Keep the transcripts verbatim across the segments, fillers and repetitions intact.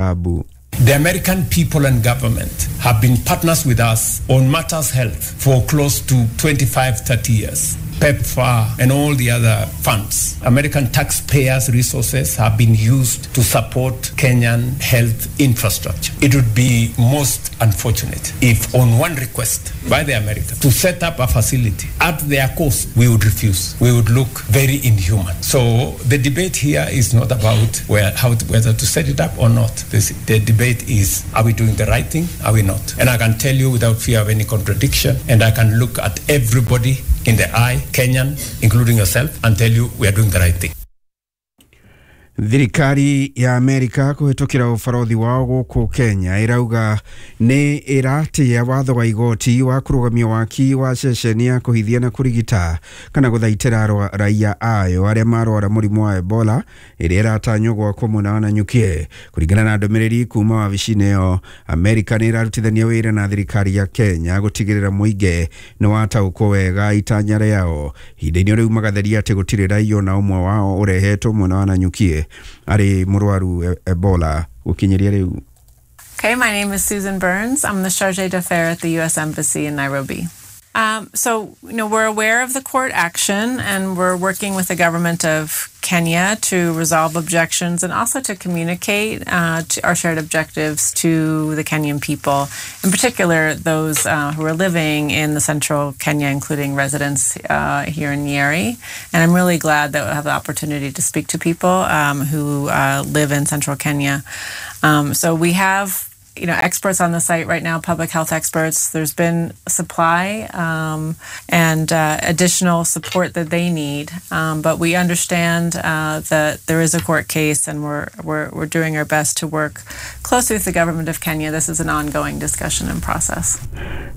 matibabu. The American people and government have been partners with us on matters health for close to twenty-five, thirty years. PEPFAR and all the other funds. American taxpayers' resources have been used to support Kenyan health infrastructure. It would be most unfortunate if on one request by the Americans to set up a facility at their cost, we would refuse. We would look very inhuman. So the debate here is not about where, how to, whether to set it up or not. This, the debate is, are we doing the right thing? Are we not? And I can tell you without fear of any contradiction, and I can look at everybody in the eye, Kenyan, including yourself, and tell you we are doing the right thing. Thirikari ya Amerika kũhĩtũkĩra ũbarothi wao gũkũ Kenya ĩrauga nĩ ĩratĩĩa watho wa igoti wa kũrũgamia waki wa ceceni ya kũhithia na kũrigita kana gũthaitĩra raia ayo arĩa marwara mũrimũ wa Ebola ĩrĩa ĩratanywo gwakwo mwena wa Nanyuki. Kũringana na ndũmĩrĩri kuma wabici-inĩ ĩyo, Amerika nĩ ĩrarutithania wĩra na thirikari ya Kenya gũtigĩrĩra mũingĩ nĩ wataũkwo wega itanya rĩao. Ihinda-inĩ rĩu magatheria atĩ gũtirĩ raia ona ũmwe wao ũrehetwo mwena wa Nanyuki arĩ mũrwaru Ebola gũkinyĩria rĩu. Okay, my name is Susan Burns. I'm the Chargé d'Affaires at the U S Embassy in Nairobi. Um, so, you know, we're aware of the court action and we're working with the government of Kenya to resolve objections and also to communicate uh, to our shared objectives to the Kenyan people, in particular those uh, who are living in the central Kenya, including residents uh, here in Nyeri. And I'm really glad that we'll have the opportunity to speak to people um, who uh, live in central Kenya. Um, so we have you know, experts on the site right now, public health experts. There's been supply um, and uh, additional support that they need. Um, but we understand uh, that there is a court case and we're, we're, we're doing our best to work closely with the government of Kenya. This is an ongoing discussion and process.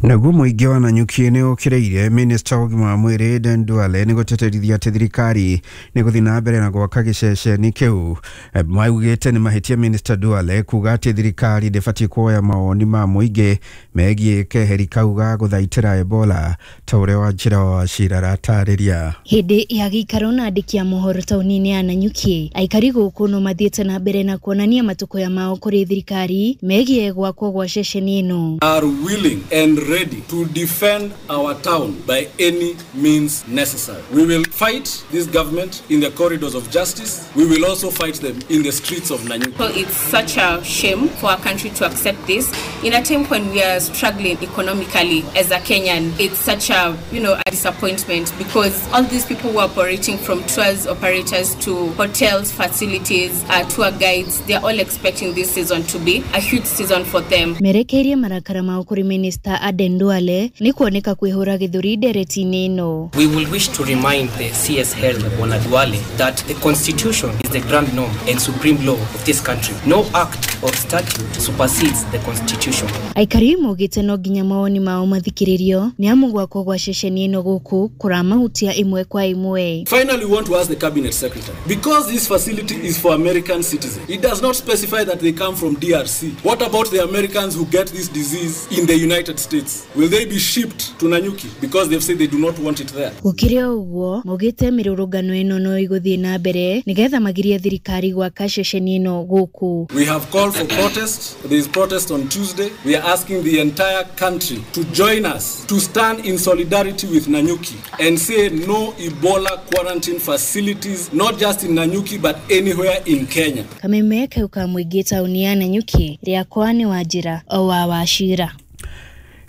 Naguo mũingĩ wa Nanyuki nĩ ũkĩrĩire Minister wa ũgima wa mwĩrĩ Aden Duale nĩ gũteterithia atĩ thirikari nĩ gũthiĩ na mbere na gwaka gĩceceni kĩu. Maugĩte nĩ mahĩtia Minister Duale kuga atĩ thirikari ndĩbatiĩ kuoya mawoni ma mũingĩ megiĩ keheri kau ga gũthaitĩra Ebola ta ũrĩa Wanjĩra wa Wachira aratarĩria. Hĩndĩ ya gĩikaro na andĩki a mohoro taũni-inĩ ya Nanyuki, aikari gũkũ no mathiĩte na mbere na kuonania matũkũya mao kũrĩ thirikari megiĩ gwakwo gwa ceceni ĩno. Are willing and ready to defend our town by any means necessary. We will fight this government in the corridors of justice. We will also fight them in the streets of Nanyuki. So it's such a shame for our country to accept this in a time when we are struggling economically as a Kenyan. It's such a, you know, a disappointment because all these people who are operating from tours operators to hotels, facilities, uh, tour guides, they're all expecting this season to be a huge season for them. Merekeirie marakara mao kũrĩ Minister Aden Duale nĩ kuoneka kwĩhũra gĩthũri ndereti-inĩ ĩno. We will wish to remind the C S Health Bwana Duale that the constitution is the grand norm and supreme law of this country. No act or statute supersedes the constitution. Aikari maugĩte no nginya mawoni mao mathikĩrĩrio nĩ amu gwakwo gwa ceceni ĩno gũkũ kũramahutia ĩmwe kwa ĩmwe. Finally, we want to ask the cabinet secretary, because this facility is for American citizens, it does not specify that they come from D R C. What about the Americans who get this disease in the United States? Will they be shipped to Nanyuki because they've said they do not want it there? Gũkĩrĩ o ũguo maugĩte mĩrũrũngano ĩno no ĩgũthiĩ na mbere nĩgetha magirie thirikari gwaka ceceni ĩno gũkũ. We have called for protest. There is protest on Tuesday. We are asking the entire country to join us, to stand in solidarity with Nanyuki and say no Ebola quarantine facilities, not just in Nanyuki but anywhere in Kenya. Kameme kau ka mũingĩ taũni ya Nanyuki rĩakwa nĩ Wanjĩra o wa Wachira.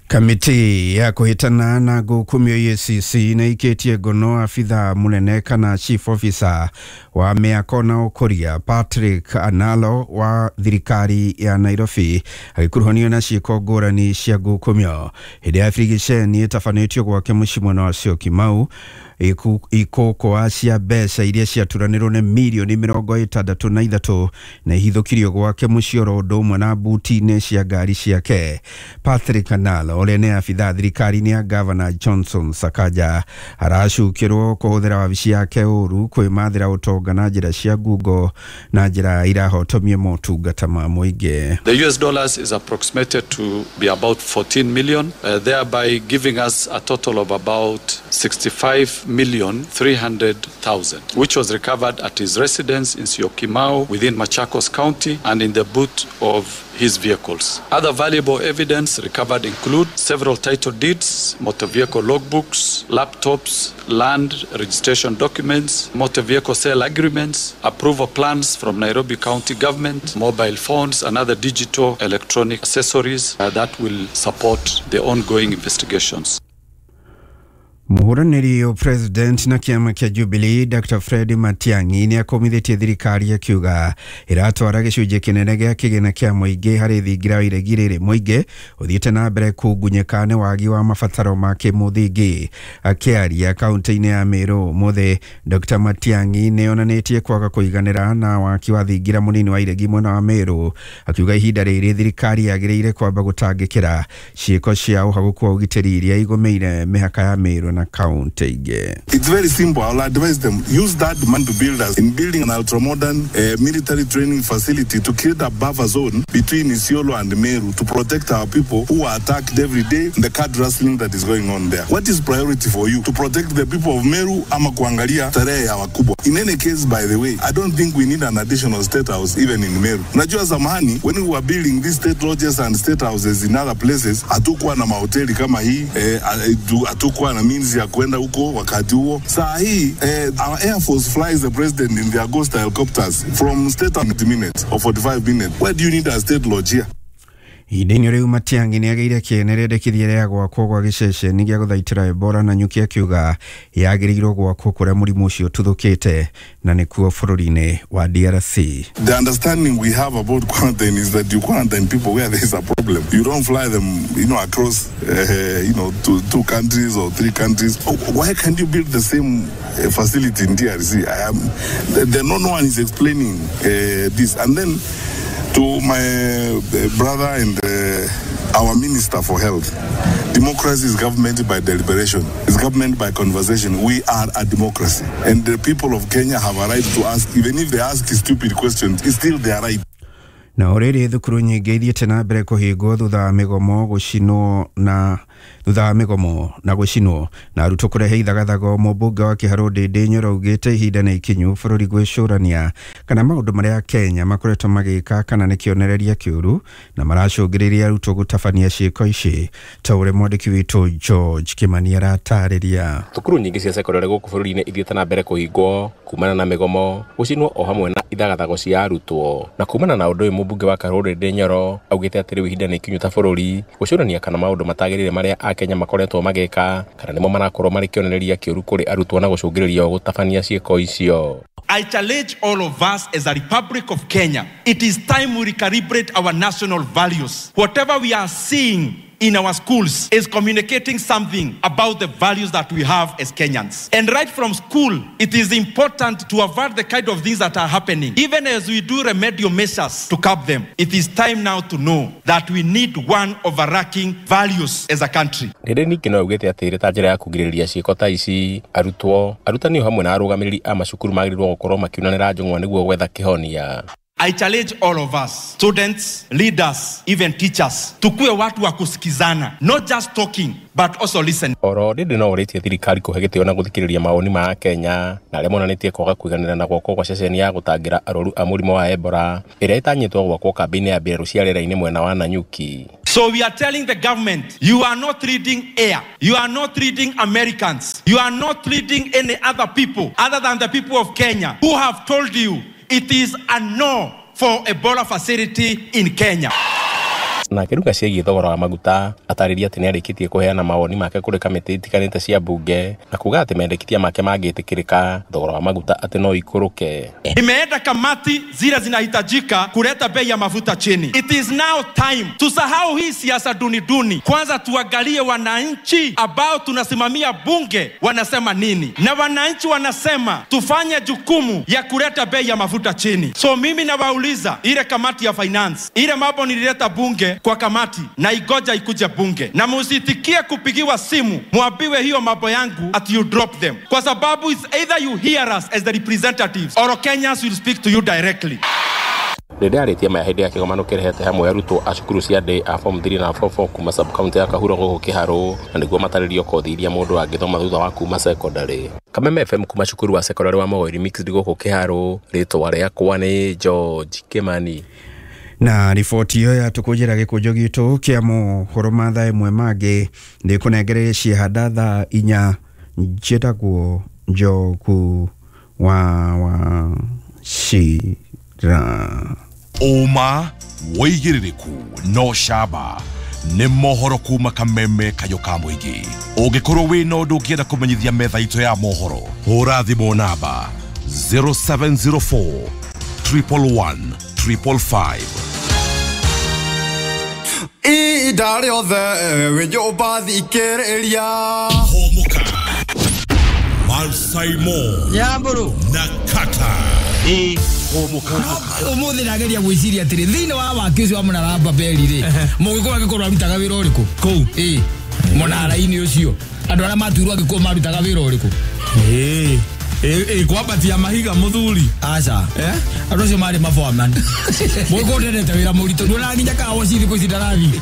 Kamiti ya kũhĩtana na ngũkũmio E A C C nĩ ĩikĩtie ngono abithaa mũnene kana chief officer wa mĩako na ũkũria Patrick Analo wa thirikari ya Nairobi agĩkuruhanio na ciĩko ngũrani cia ngũkũmio. Hĩndĩ ya birigiceni ĩtabanĩtio gwake mũciĩ mwena wa Syokimau ikũkũa cia mbeca iria ciaturanĩrwo nĩ mirioni mĩrongo ĩtandatũ na ithatũ na ihithũkirio gwake mũciĩ oro ũndũ ũmwe na buti-inĩ cia ngari ciake. Patrick Analo ũrĩa nĩ abithaa thirikari-inĩ ya Governor Johnson Sakaja aracukĩrwo kũhũthĩra wabici yake ũru kwĩmathĩra ũtonga na njĩra cia ngungo na njĩra irahotomia motungata ma mũingĩ. The U S dollars is approximated to be about fourteen million, uh, thereby giving us a total of about sixty-five million three hundred thousand, which was recovered at his residence in Syokimau within Machakos County and in the boot of his vehicles. Other valuable evidence recovered include several title deeds, motor vehicle logbooks, laptops, land registration documents, motor vehicle sale agreements, approval plans from Nairobi County government, mobile phones and other digital electronic accessories uh, that will support the ongoing investigations. Muhuraniri wa president na kiama kia Jubilee Doctor Fred Matiang'i ni akomithitie thirikari akiuga iratwara gicunjĩ kĩnene gĩa kĩgĩna kĩa mũingĩ harĩ thingira wa iregi rĩrĩ mũingĩ ũthiĩte na mbere kũngunyĩka nĩ wagi wa mabataro ma kĩmũthingi. Akĩaria kaunti-inĩ ya Meru ũmũthĩ, Doctor Matiang'i nĩ onanĩtie kwaga kũiganĩra na waki wa thingira mũnini wa iregi mwena wa Meru, akiuga ihinda rĩrĩ thirikari yagĩrĩire kwamba gũtangĩkĩra ciĩko cia ũhagũku wa ũgitĩri iria igũmĩire mĩhaka ya Meru na kaunti ingĩ. It's very simple. I'll advise them, use that money to build us in building an ultra-modern uh, military training facility to create a buffer zone between Isiolo and Meru to protect our people who are attacked every day in the card rustling that is going on there. What is priority for you? To protect the people of Meru ama kuangalia tarehe ya wakubwa? In any case, by the way, I don't think we need an additional state house even in Meru. Najua zamani, when we were building these state lodges and state houses in other places, hatukuwa na mahoteli kama hii, eh, hatukuwa na means ya kwenda huko wakati huo. Saa hii, eh, our Air Force flies the president in the Agosta helicopters from state thirty minutes or forty-five minutes. Why do you need a state lodge here? Ihinda-inĩ rĩu Matiang'i nĩagĩire kĩene rĩendekithia rĩa gwakwo gwa gĩceceni gĩa gũthaitĩra Ebola na nyuki akiuga yagĩrĩirwo gwakwo kũrĩa mũrimũ ũcio ũtuthũkĩte na nĩkuo bũrũri-inĩ wa D R C. The understanding we have about quarantine is that you quarantine people where there is a problem. You don't fly them, you know, across, uh, you know, two, two countries or three countries. Why can't you build the same facility in D R C? I am, the, the, no one is explaining uh, this. And then to my brother and uh, our Minister for Health, democracy is government by deliberation. It's government by conversation. We are a democracy. And the people of Kenya have a right to ask, even if they ask stupid questions, it's still their right. Na ũrĩrĩ thukuru nyingĩ ithiĩte na mbere kũhingwo thutha wa mĩgomo gũcinwo na thutha wa mĩgomo na gũcinwo na arutwo kũrehe ithagathago. Mũmbunge wa Kĩharũ Ndĩndĩ Nyoro augĩte ihinda nĩ ikinyu bũrũri gwĩcũrania kana maũndũ marĩa Kenya makoretwo magĩka kana nĩ kĩonereria kĩũru na maracũngĩrĩria arutwo gũtabania ciĩko ici, ta ũrĩa mwandĩki witũ George Kĩmani aratarĩria. Thukuru nyingĩ cia sekondarĩ gũkũ bũrũri-inĩ ithiĩte na mbere kũhingwo kumana na mĩgomo gũcinwo o hamwe na ithagathago cia arutwo. Na kumana na ũndũ ũyũ mũmbunge wa Kĩharũ Ndĩndĩ Nyoro augĩte atĩ rĩu ihinda nĩ ikinyu ta bũrũri gũcũrania kana maũndũ matagĩrĩire marĩa Akenya makoretwo magĩka kana nĩmo marakorwo marĩ kĩonereria kĩũru kũrĩ arutwo na gũcũngĩrĩria gũtabania ciĩko icio. I challenge all of us as a Republic of Kenya. It is time we recalibrate our national values. Whatever we are seeing in our schools is communicating something about the values that we have as Kenyans. And right from school, it is important to avert the kind of things that are happening. Even as we do remedial measures to curb them, it is time now to know that we need one overarching values as a country. Ndĩndĩ ningĩ no augĩte atĩ ĩrĩ ta njĩra ya kũgirĩrĩria ciĩko ta ici, arutwo, arutani o hamwe na arũgamĩrĩri a macukuru magĩrĩirwo gũkorwo makiunanĩra njũng'wa nĩguo gwetha kĩhonia. I challenge all of us, students, leaders, even teachers, tukue watu wa kusikizana, not just talking, but also listen. Oro Ndĩndĩ no ũrĩtie thirikari kũhe gĩtĩo na gũthikĩrĩria mawoni ma Kenya na arĩa monanĩtie kwaga kũiganĩra na gwakwo gwa ceceni ya gũtangĩra arwaru a mũrimũ wa Ebola ĩrĩa ĩtanyĩtwo gwakwo kambĩ-inĩ ya mbirarũ cia rĩera-inĩ mwena wa Nanyuki. So we are telling the government, you are not leading air, you are not leading Americans, you are not leading any other people other than the people of Kenya who have told you it is a no for Ebola facility in Kenya. Na akĩruga ciĩgiĩ thogora wa maguta atarĩria atĩ nĩarĩkĩtie kũheana mawoni make kũrĩ kamĩtĩ itiganĩte cia bunge na kuga atĩ mendekithia make mangĩtĩkĩrĩka thogora wa maguta atĩ no ikũrũke. Imeenda kamati zile zinahitajika kuleta bei ya mafuta chini. It is now time tusahau hii siasa duni duni. Kwanza tuangalie wananchi ambao tunasimamia bunge wanasema nini, na wananchi wanasema tufanye jukumu ya kuleta bei ya mafuta chini. So mimi nawauliza ile kamati ya finance, ile mambo nilileta bunge kwa kamati na igoja ikuje bunge, na musitikie kupigiwa simu muambiwe hiyo mambo yangu at you drop them, kwa sababu it's either you hear us as the representatives or Kenyans will speak to you directly. Ndĩndĩ arĩtie maya hĩndĩ ya kĩgomano kĩrehete hamwe arutwo a cukuru cia ndĩ a form three na form four kuma sub county ya Kahuro gũkũ Kĩharũ na nĩguo matarĩrio kothi iria mũndũ angĩthoma thutha wa kuma secondary. Kameme F M kuma cukuru wa sekondarĩ wa Mogoiri Mixed gũkũ Kĩharũ, rĩtwa rĩakwa nĩ George Kimani. Na riboti iyo yatukujira gĩkũnjo gitũ kĩa mohoro ma thaa ĩmwe mangĩ nĩ kũnengereria ciehanda thaa inya. Njĩtagwo Njogu wa wa Shira. Ũma wĩigĩrĩrĩku no camba nĩ mohoro kuma Kameme kayo ka mũingĩ. Ũngĩkorwo wĩna ũndũ ũngĩenda kũmenyithia metha itũ ya mohoro, hũra thimũ namba zero seven zero four triple one triple five. Ihinda rĩothe wĩ nyũmba thikĩrĩria. Hũmũka Malsaimo Nyamburu na Kata. Hũmũka umuthi ndageria gwiciria atiri thiini wa waki ucio wa munara wa Babeli ri mugikuyu angikorwo arutaga wira uriku kuu ii munara-ini ucio andu aria matuirwo angikuyu marutaga wira uriku ii ii kwambatia mahiga muthuri aca andu acio mari maboaman mugikuyu ndendete wira muritu nduona nginya kawa cithi kuu ici ndarathi.